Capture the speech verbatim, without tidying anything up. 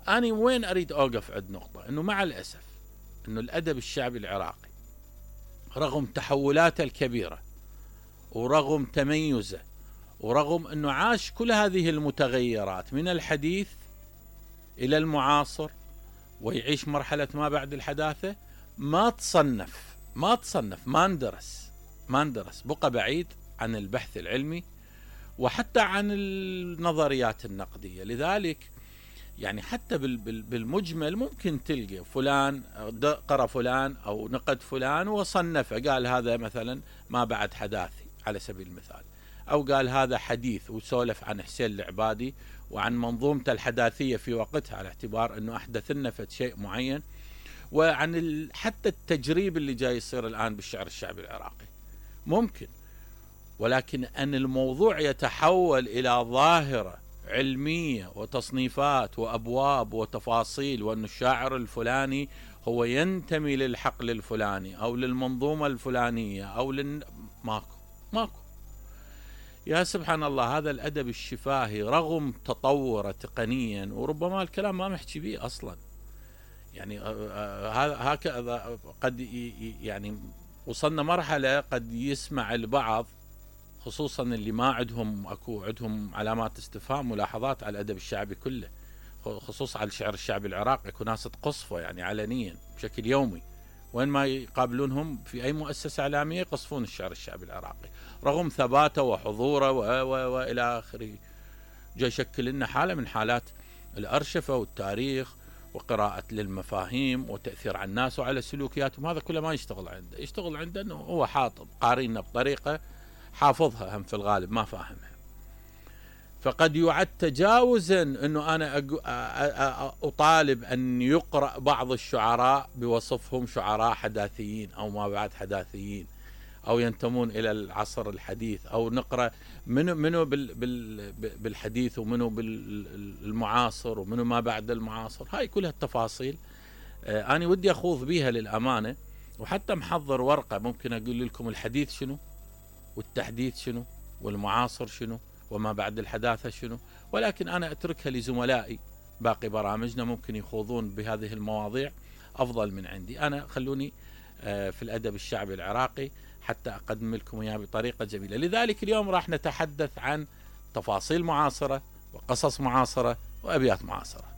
أنا وين أريد أوقف عند نقطة أنه مع الأسف أنه الأدب الشعبي العراقي رغم تحولاته الكبيرة ورغم تميزه ورغم أنه عاش كل هذه المتغيرات من الحديث إلى المعاصر ويعيش مرحلة ما بعد الحداثة، ما تصنف ما تصنف ما اندرس ما اندرس بقى بعيد عن البحث العلمي وحتى عن النظريات النقدية. لذلك يعني حتى بالمجمل ممكن تلقى فلان قرأ فلان أو نقد فلان وصنفه، قال هذا مثلا ما بعد حداثي على سبيل المثال، أو قال هذا حديث وسولف عن حسين العبادي وعن منظومته الحداثية في وقتها على اعتبار أنه أحدث لنا شيء معين، وعن حتى التجريب اللي جاي يصير الآن بالشعر الشعبي العراقي ممكن. ولكن أن الموضوع يتحول إلى ظاهرة علمية وتصنيفات وأبواب وتفاصيل، وأن الشاعر الفلاني هو ينتمي للحقل الفلاني أو للمنظومة الفلانية أو لل... ماكو ماكو يا سبحان الله. هذا الأدب الشفاهي رغم تطوره تقنيا، وربما الكلام ما محكي به أصلا، يعني هكذا قد يعني وصلنا مرحلة قد يسمع البعض خصوصا اللي ما عندهم اكو عندهم علامات استفهام ملاحظات على الادب الشعبي كله، خصوصا على الشعر الشعبي العراقي، اكو ناس تقصفه يعني علنيا بشكل يومي، وين ما يقابلونهم في اي مؤسسه اعلاميه يقصفون الشعر الشعبي العراقي رغم ثباته وحضوره والى اخره. جاي يشكل لنا حاله من حالات الارشفه والتاريخ وقراءة للمفاهيم وتأثير على الناس وعلى سلوكياتهم، هذا كله ما يشتغل عنده. يشتغل عنده انه هو حاط قارينا بطريقة حافظها هم في الغالب ما فاهمها، فقد يعد تجاوزا انه انا اطالب ان يقرأ بعض الشعراء بوصفهم شعراء حداثيين او ما بعد حداثيين او ينتمون الى العصر الحديث، او نقرأ منو منو بالحديث ومنو بالمعاصر ومنو ما بعد المعاصر. هاي كلها التفاصيل انا ودي اخوض بيها للامانة، وحتى محضر ورقة ممكن اقول لكم الحديث شنو والتحديث شنو والمعاصر شنو وما بعد الحداثة شنو، ولكن أنا أتركها لزملائي باقي برامجنا ممكن يخوضون بهذه المواضيع أفضل من عندي. أنا خلوني في الأدب الشعبي العراقي حتى أقدم لكم إياه بطريقة جميلة. لذلك اليوم راح نتحدث عن تفاصيل معاصرة وقصص معاصرة وأبيات معاصرة.